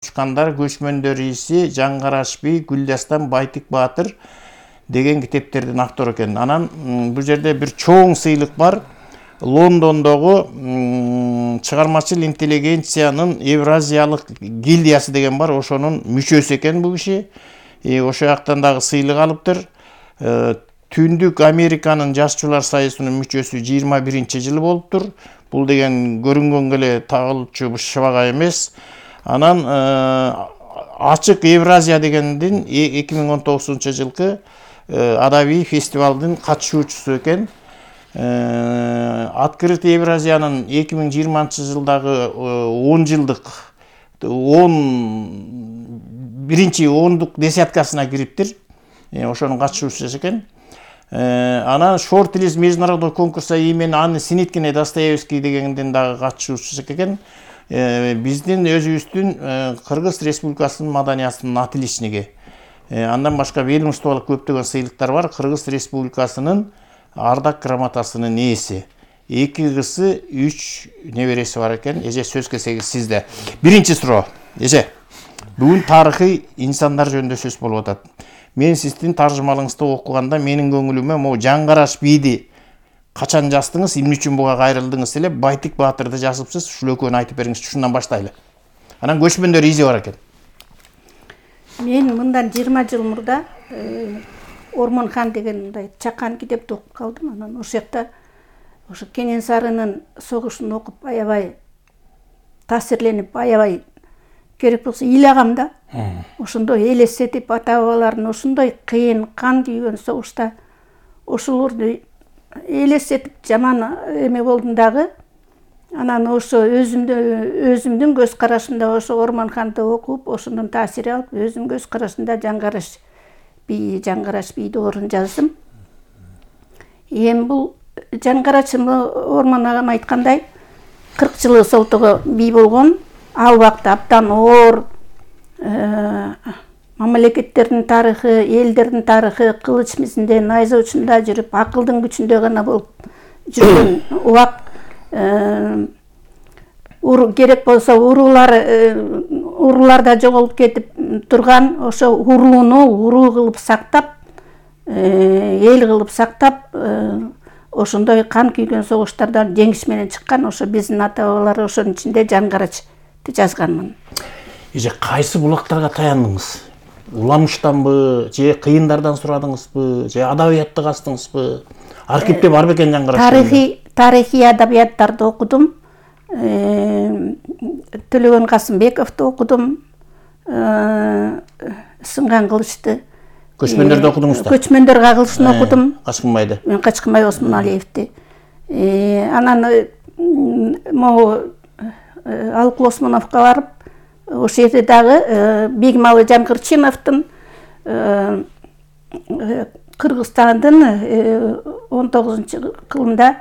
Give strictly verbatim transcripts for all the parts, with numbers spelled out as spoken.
Учкандар, көчмөндөр ээси, Жаңгараш би, Гүлдастан Байтик Баатыр деген китептердин автору экен. Анан бул жерде бир чоң сыйлык бар. Лондондогу чыгармачыл интеллигенциянын Евразиялык гильдиясы деген бар, ошонун мүчөсү экен бул киши. Ошо жактан дагы сыйлык алыптыр. Түндүк Американын жашчылар союзунун мүчөсү жыйырма биринчи жылы болуптур. Бул деген көрүнгөнгө эле тагылчу шыбага эмес. Анан Ачык Евразия дегендин эки миң он тогузунчу жылкы адабий фестивалдын катышуучусу экен. Открытый Евразиянын эки миң жыйырманчы жылдагы он жылдык он биринчи ондук десяткасына кириптир. Ошонун катышуучусу экен. Анан Шорт-лист международный конкурса имени Анны Синиткине Достоевский дегендин дагы катышуучусу экен. Биздин өзүбүздүн Кыргыз Республикасынын маданиятынын отличниги. Андан башка ведомстволук көптөгөн сыйлыктар бар. Кыргыз Республикасынын ардак грамотасынын ээси. Эки кызы, үч небереси бар экен. Эже сөз келсеңиз сизде. Биринчи суроо. Эже, бүгүн тарыхый инсандар жөнүндө сөз болуп атат. Мен сиздин таржымалыңызды окуганда менин көңүлүмө могу Жаңгараш бийди качан жаздыңыз, эмне үчүн буга кайрылдыңыз эле, Байтик Баатырды жазыпсыз, ушул экөөнү айтып бериңизчи, ушундан баштайлы. Анан көчмөндөр изи бар экен. Мен мындан жыйырма жыл мурда Ормонхан деген мындай чакан китепти окуп калдым. Анан ошол жакта ошо Кенен Сарынын согушун окуп аябай таасирленип, аябай керек болсо ыйлагам да. Ошондой элестетип, ата бабалардын ошондой кыйын, кан күйгөн согушта ошолорду элестетип жаман эме болдум дагы. Анан ошо өзүмдүн өзүмдүн көз карашымда ошо Ормонханды окуп, ошондон таасир алып, өзүм көз карашымда Жаңгараш би, Жаңгараш бийди орун жаздым. Эми бул Жаңгараш Ормон агам айткандай кырк жылы солтого бий болгон. Ал убакта абдан оор мамлекеттердин тарыхы, элдердин тарыхы кылыч мизинде, найза учунда жүрүп, акылдын күчүндө гана болуп жүргөн убак. Керек болсо уруулар урууларда жоголуп кетип турган ошо урууну уруу кылып сактап, эл кылып сактап, ошондой кан күйгөн согуштардан жеңиш менен чыккан ошо биздин ата бабалар ошонун ичинде Жаңгарачты жазганмын. Эже кайсы булактарга таяндыңыз? Уламыштанбы, же кыйындардан сурадыңызбы, же адабиятты кастыңызбы? Архивде бар бекен Жаңгараш? Тарыхый тарыхый адабияттарды окудум. Төлөгөн Касымбековду окудум. Сынган кылычты. Көчмөндөрдү окудуңуз да? Көчмөндөр кагылышын окудум. Качкынбайды. Мен Качкынбай Осмоналиевди. Анан могу Алык Осмоновго барып, ошол жерде дагы Бегмалы Жамгырчиновдун Кыргызстандын он тогузунчу кылымда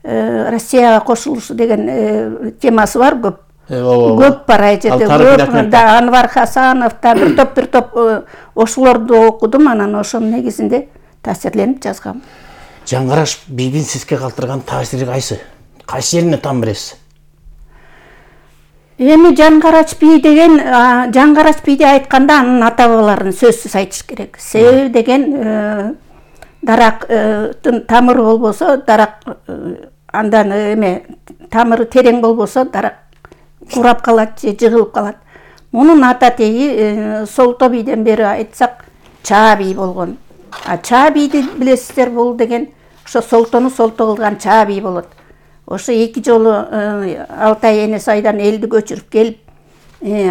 Россияга кошулушу деген темасы бар, көп. Көп бар айжерде. Көп да Анвар Хасанов да бир топ бир топ ошолорду окудум, анан ошонун негизинде таасирленип жазгам. Жаңгараш бийдин сизге калтырган таасири кайсы? Кайсы жерине там бересиз? Эми Жаңгараш бий деген, Жаңгараш бийди айтканда анын ата бабаларын сөзсүз айтыш керек. Себеби деген дарактын тамыры болбосо, дарак андан эме тамыры терең болбосо, дарак курап калат же жыгылып калат. Мунун ата теги Солто бийден бери айтсак Чаа бий болгон. А Чаа бийди билесиздер, бул деген ошо Солтону солто кылган Чаа бий болот. Ошо эки жолу Алтай Энес айдан элди көчүрүп келип,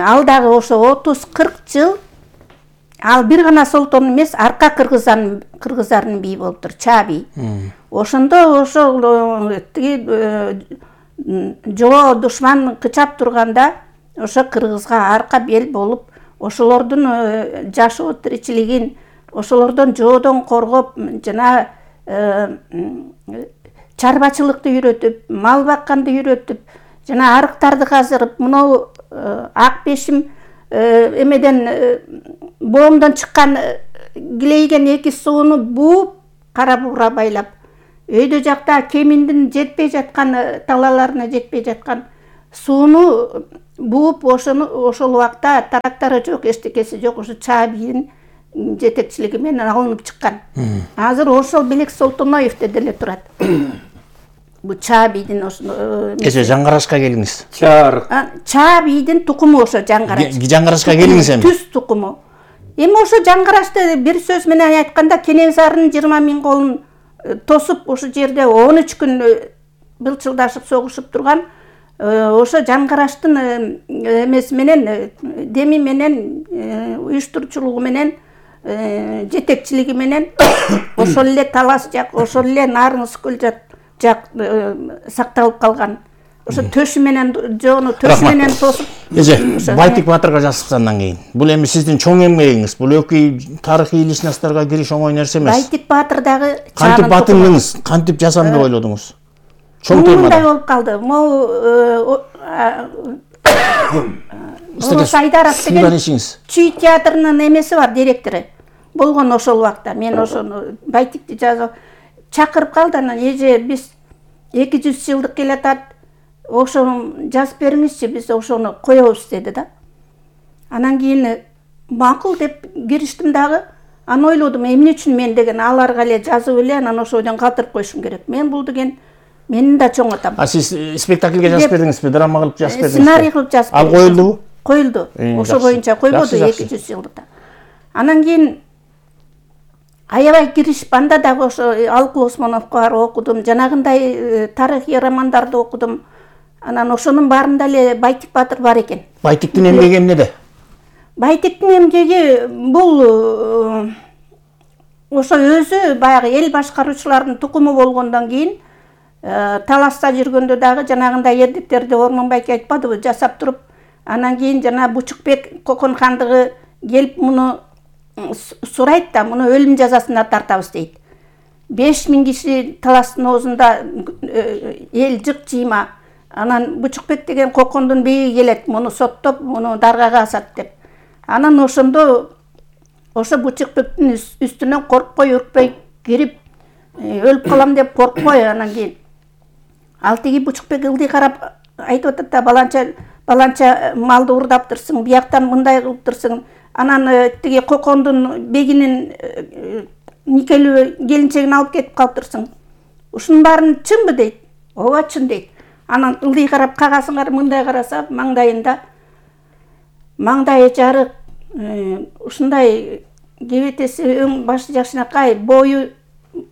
ал дагы ошо отуз кырк жыл ал бир гана Солтон эмес, арка кыргыздан кыргыздардын бийи болуптур, Чаа бий. Ошондо ошол тиги жоо душман кычап турганда ошо кыргызга арка бел болуп, ошолордун жашоо тиричилигин, ошолордон жоодон коргоп, жана чарбачылыкты үйрөтүп, мал бакканды үйрөтүп, жана арыктарды казырып, мынау ак бешим эмеден боомдон чыккан килейген эки сууну бууп, кара буура байлап, өйдө жакта кеминдин жетпей жаткан талаларына жетпей жаткан сууну бууп ошону ошол убакта трактору жок, эчтекеси жок, ошо Чаа бийдин жетекчилиги менен алынып чыккан. Азыр ошол Белек Солтоноевде деле турат. Бу Чаа бийдин ошо кеше Жаңгарашка келиңиз. Чаар. Чаа бийдин тукуму ошо Жаңгараш. Жаңгарашка келиңиз эми. Түз тукуму. Эми ошо Жаңгарашты бир сөз менен айтканда Кенесарынын жыйырма миң колун тосуп ошо жерде он үч күн былчылдашып согушуп турган ошо Жаңгараштын эмеси менен, деми менен, уюштуруучулугу менен, жетекчилиги менен ошол эле Талас жак, ошол эле Нарыңыз көл жак сакталып калган. Ошо төшү менен жоону төшү менен тосуп. Эже, Байтик Батырга жазыпсыз андан кийин. Бул эми сиздин чоң эмгегиңиз. Бул экөө тарыхый личностторго кириш оңой нерсе эмес. Байтик Батыр дагы кантип батырдыңыз, кантип жазам деп ойлодуңуз? Чоң темада. Мындай болуп калды. Могу Улус Айдаров деген Чүй театрынын эмеси бар, директору. Болгон ошол убакта. Мен ошону Байтикти жазып чакырып калды. Анан эже биз эки жүз жылдык келатат. Ошону жазып бериңизчи, биз ошону коебуз деди да. Анан кийин макул деп кириштим дагы. Аны ойлодум, эмне үчүн мен деген аларга эле жазып эле анан ошодон калтырып коюшум керек. Мен бул деген менин да чоң атам. А сиз спектакльге жазып бердиңизби, драма кылып жазып бердиңизби? Сценарий кылып жазып бердим. Ал коюлдубу? Коюлду. Ошо боюнча койбоду эки жүз жылдыкта. Анан кийин аябай киришип, анда дагы ошо Алкул Осмоновго барып окудум, жанагындай тарыхый романдарды окудум. Анан ошонун баарында эле Байтик Батыр бар экен. Байтиктин эмгеги эмнеде? Байтиктин эмгеги бул ошо өзү баягы эл башкаруучулардын тукуму болгондон кийин Таласта жүргөндө дагы жанагындай эрдиктерди Ормон байке айтпадыбы, жасап туруп, анан кийин жана Бучукбек Кокон хандыгы келип муну сурайт да, муну өлүм жазасына тартабыз дейт. беш миң киши Таластын оозунда эл жык жыйма. Анан Бучукбек деген Кокондун бейги келет, муну соттоп, муну даргага асат деп. Анан ошондо ошо Бучукбектин үстүнөн коркпой, үркпөй кирип, өлүп калам деп коркпой, анан кийин ал тиги Бучукбек ылдый карап айтып атат да, баланча баланча малды урдаптырсың, бияктан мындай кылыптырсың. Анан тиги Кокондун бегинин никелүү келинчегин алып кетип калыптырсың. Ушунун баарын чынбы дейт? Ооба, чын дейт. Анан ылдый карап кагасыңар, мындай караса маңдайында маңдайы жарык, ушундай кебетеси өң башы жакшынакай, бою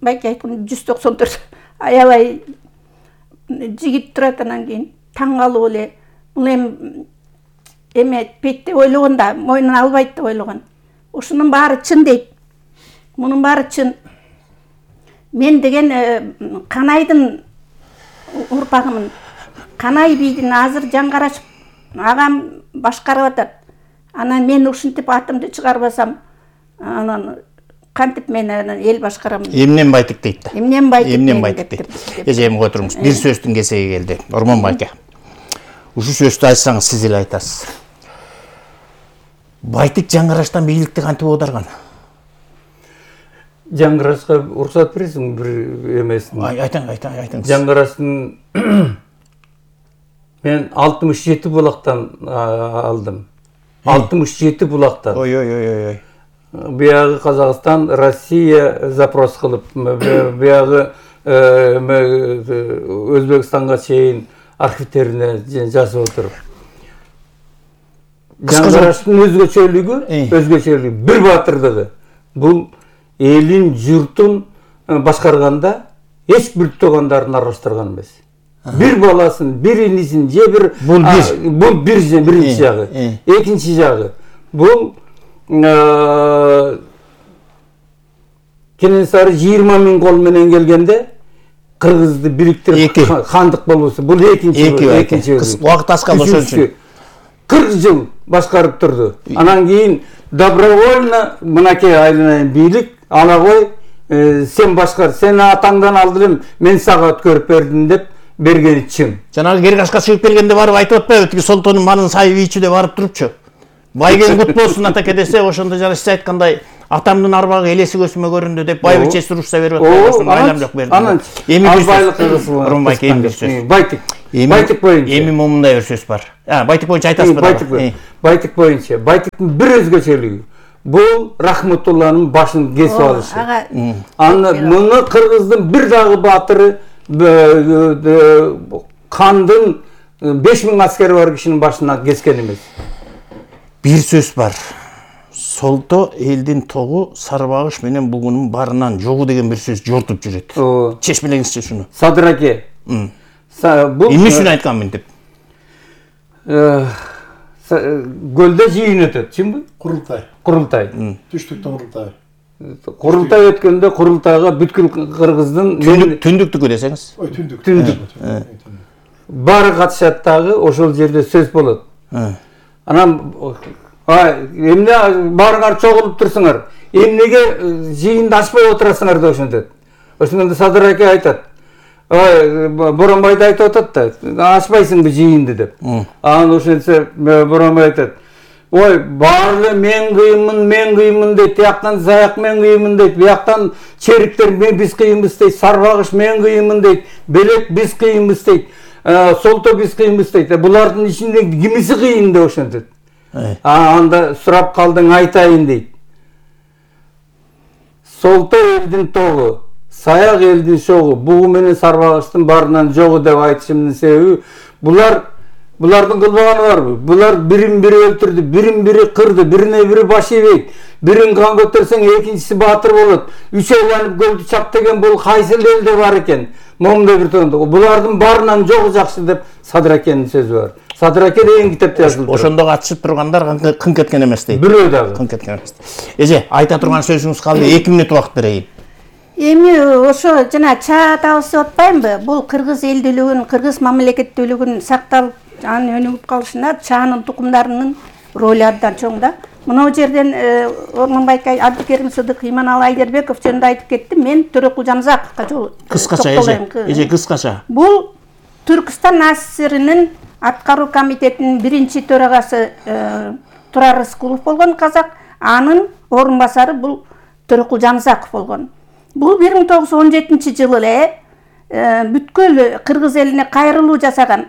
байке айткан жүз токсон төрт, аябай жигит турат. Анан кийин таң калып эле бул эми эме этпейт деп ойлогон да, мойнун албайт деп ойлогон. Ушунун баары чын дейт. Мунун баары чын. Мен деген Канайдын урпагымын. Канай бийдин азыр Жаңгараш агам башкарып атат. Анан мен ушинтип атымды чыгарбасам, анан кантип мен эл башкарамын. Эмнен Байтик дейт да. Эмнен Байтик. Эмнен Байтик дейт. Эже эми отуруңуз. Бир сөздүн кезеги келди. Ормон байке. Ушу сөздү айтсаңыз сиз эле айтасыз. Байтик Жаңгараштан бийликти кантип оодарган? Жаңгарашка уруксат бересиң бир эмесин? Айтаң, айтаң, айтаң. Жаңгараштын мен алтымыш жети булактан алдым. алтымыш жети булактан. Ой, ой, ой, ой. Биягы Казакстан, Россия запрос кылып, биягы Өзбекстанга чейин архивтерине жазып отуруп. Жаңгараштын өзгөчөлүгү, өзгөчөлүгү, бир батырдыгы. Бул элин, журтун башкарганда эч бир туугандарын аралаштырган эмес. Бир баласын, бир инисин, же бир бул бир, бул бир биринчи жагы. Экинчи жагы бул Кенесары жыйырма миң кол менен келгенде кыргызды бириктирип хандык болуусу. Бул экинчи экинчи убакыт аскал ошон үчүн кырк жыл башкарып турду. Анан кийин добровольно мынакей айланайын бийлик ала кой, сен башкар, сен атаңдан алдым, мен сага өткөрүп бердим деп бергени чын. Жанагы Кергашка чыгып келгенде барып айтып атпайбы, тиги Солтонун манын сайып ийчү деп барып турупчу. Байген кут болсун атаке десе, ошондо жана сиз айткандай атамдын арбагы элеси көзүмө көрүндү деп байбичеси урушса берип атпайбы, ошону айлам жок берди. Анан эми бир сөз. Ормон байке, эми бир сөз. Байтик Байтык боюнча. Эми момундай бир сөз бар. А, байтык боюнча айтасыз бирбайтык байтык боюнча. Байтыктын бир өзгөчөлүгү. Бул Рахматулланын башын кесип алышы. Аны муну кыргыздын бир дагы баатыры кандын беш миң аскери бар кишинин башына кескен эмес. Бир сөз бар. Солто элдин тогу сарбагыш менен бугунун барынан жогу деген бир сөз жортуп жүрөт. Чечмелеңизчи шуну. Садыр аке. Бул эмне үчүн айтканмын деп? Гөлдө жыйын өтөт, чынбы? Курултай. Курултай. Түштүктөн курултай. Курултай өткөндө курултайга бүткүл кыргыздын түндүктүкү десеңиз. Ой, түндүк. Түндүк. Баары катышат дагы, ошол жерде сөз болот. Анан эмне баарыңар чогулуп турсуңар? Эмнеге жыйынды ачпай отурасыңар деп ошентет. Ошондо Садыр аке айтат. Ой, Боронбайды айтып атат да, ачпайсыңбы жыйынды деп. Анан ошентсе Боронбай айтат. Ой, баары мен кыйынмын, мен кыйынмын дейт, тияктан Заяк мен кыйынмын дейт, бияктан Чериктер мен биз кыйынбыз дейт, Сарбагыш мен кыйынмын дейт, Белек биз кыйынбыз дейт, Солто биз кыйынбыз дейт. Булардын ичинде кимиси кыйын деп ошентет. Анда сурап калдың айтайын дейт. Солто элдин тогу, Саяк элдин шогу, бугу менен Сарбагыштын баарынан жогу деп айтышымдын себеби булар булардын кылбаганы барбы? Булар бирин бири өлтүрдү, бирин бири кырды, бирине бири баш ийбейт. Бирин кан көтөрсөң экинчиси баатыр болот. Үч айланып көлдү чап деген бул кайсы элде бар экен? Момундай бир тондо. Булардын баарынан жогу жакшы деп Садыр акенин сөзү бар. Садыр аке деген китепте жазылып турат. Ошондо катышып тургандар кын кеткен эмес дейт. Бирөө дагы. Кын кеткен эмес. Эже, айта турган сөзүңүз калды, эки мүнөт убакыт берейин. Эми ошо жана чаа табыс деп атпаймынбы? Бул кыргыз элдүүлүгүн, кыргыз мамлекеттүүлүгүн сакталып, анын өнүгүп калышына чаанын тукумдарынын ролу абдан чоң да. Мына жерден Ормонбай Абдыкерим Сыдык, Иманалы Айдербеков жөнүндө айтып кетти. Мен Төрөкул Жанузаковго жол кыскача эже, эже кыскача. Бул Түркстан АССРнин аткаруу комитетинин биринчи төрагасы Турар Рыскулов болгон казак, анын орун басары бул Төрөкул Жанузаков болгон. Бул бир миң тогуз жүз он жетинчи жылы эле бүткүл кыргыз элине кайрылуу жасаган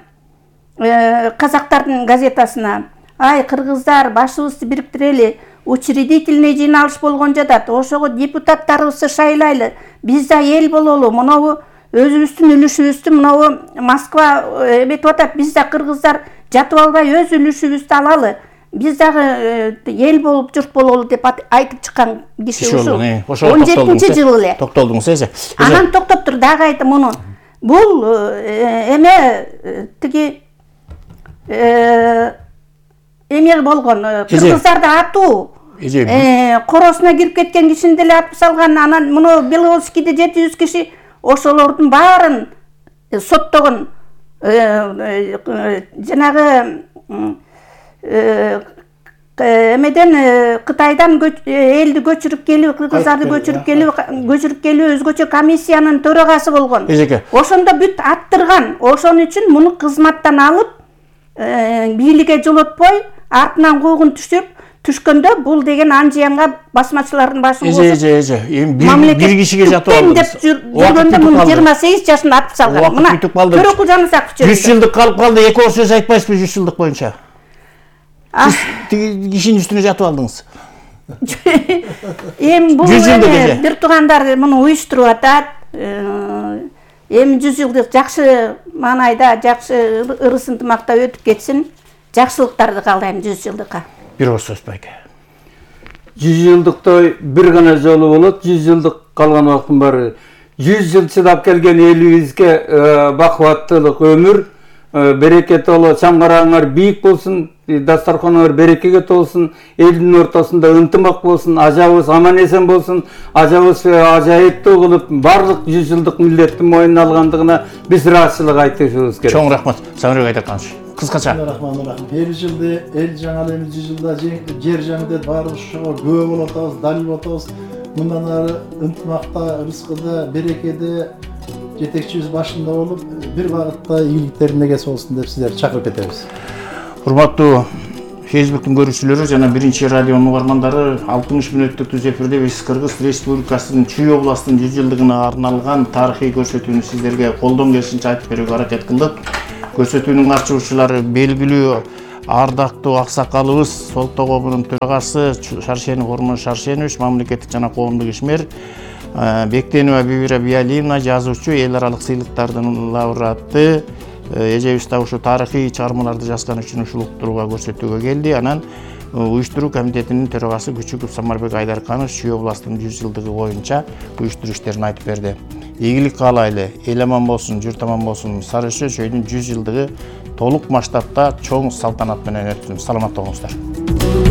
казактардын газетасына ай кыргыздар башыбызды бириктирели, учредительный жыйналыш болгон жатат, ошого депутаттарыбызды шайлайлы, биз да эл бололу, монобу өзүбүздүн үлүшүбүздү монобу Москва эметип атат, биз да кыргыздар жатып албай өз үлүшүбүздү алалы, биз дагы эл болуп журт бололу деп айтып чыккан киши ушул он жетинчи жылы эле. Токтолдуңуз эже. Анан токтоп тур, дагы айтам муну. Бул эме тиги эме болгон, кыргыздарды атуу, коросуна кирип кеткен кишини деле атып салган, анан муну Беловскийде жети жүз киши ошолордун баарын соттогон, жанагы эмеден Кытайдан элди көчүрүп келип, кыргыздарды көчүрүп келип, көчүрүп келип өзгөчө комиссиянын төрагасы болгон. Ошондо бүт аттырган. Ошон үчүн муну кызматтан алып, бийликке жолотпой, артынан куугун түшүп, түшкөндө бул деген анжыянга басмачылардын башын косуп. Эже, эже, эми бир кишиге жатып алдыңыз. Жүргөндө муну жыйырма сегиз жашында атып салган. Мына Төрөкул Жанузаков жөнүндө. жүз жылдык калып калды, эки оор сөз айтпайсызбы жүз жылдык боюнча? Тиги кишинин үстүнө жатып алдыңыз. Эми бул бир туугандар муну уюштуруп атат. Эми жүз жылдык жакшы маанайда, жакшы ырыс ынтымакта өтүп кетсин. Жакшылыктарды каалайм жүз жылдыкка. Бир оор сөз байке. жүз жылдыктой бир гана жолу болот, жүз жылдык калган убакыттын баары. жүз жыл чыдап келген элибизге бакубаттуулук өмүр, берекет боло, чамгараңар бийик болсун, дастарханыңар берекеге толсун, элдин ортосунда ынтымак болсун, ажабыз аман эсен болсун, ажабыз ажайыптуу кылып, барлык жүз жылдык милдеттин мойнуна алгандыгына биз ыраазычылык айтышыбыз керек. Чоң рахмат. Самирбек Айдарканович. Кыскача. Рахманырахим. Бир жылда эл жаңы эми жүз жылда жер жаңы баары ошого күбө болуп атабыз, далил болуп атабыз. Мындан ары ынтымакта, рызкыда, берекеде жетекчибиз башында болуп, бир багытта ийгиликтерин негеси болсун деп сиздерди чакырып кетебиз. Урматтуу Фейсбуктун көрүүчүлөрү жана биринчи радионун угармандары, алтымыш мүнөттүк түз эфирде биз Кыргыз Республикасынын Чүй областынын жүз жылдыгына арналган тарыхый көрсөтүүнү сиздерге колдон келишинче айтып берүүгө аракет кылдык. көрсөтүүнүн катышуучулары белгилүү ардактуу аксакалыбыз Солто кобунун төрагасы Шаршенов Ормон Шаршенович, мамлекеттик жана коомдук ишмер, Бектенова Бибира Биалиевна, жазуучу, эл аралык сыйлыктардын лауреаты. Эжебиз да ушу тарыхый чыгармаларды жазган үчүн ушул уктурууга көрсөтүүгө келди. Анан уюштуруу комитетинин төрагасы Күчүков Самарбек Айдарханов Чүй областынын жүз жылдыгы боюнча уюштуруу иштерин айтып берди. Ийгилик каалайлы, эл аман болсун, журт аман болсун. Сары Өсө чөйдүн жүз жылдыгы толук масштабта чоң салтанат менен өтсүн. Саламатта болуңуздар.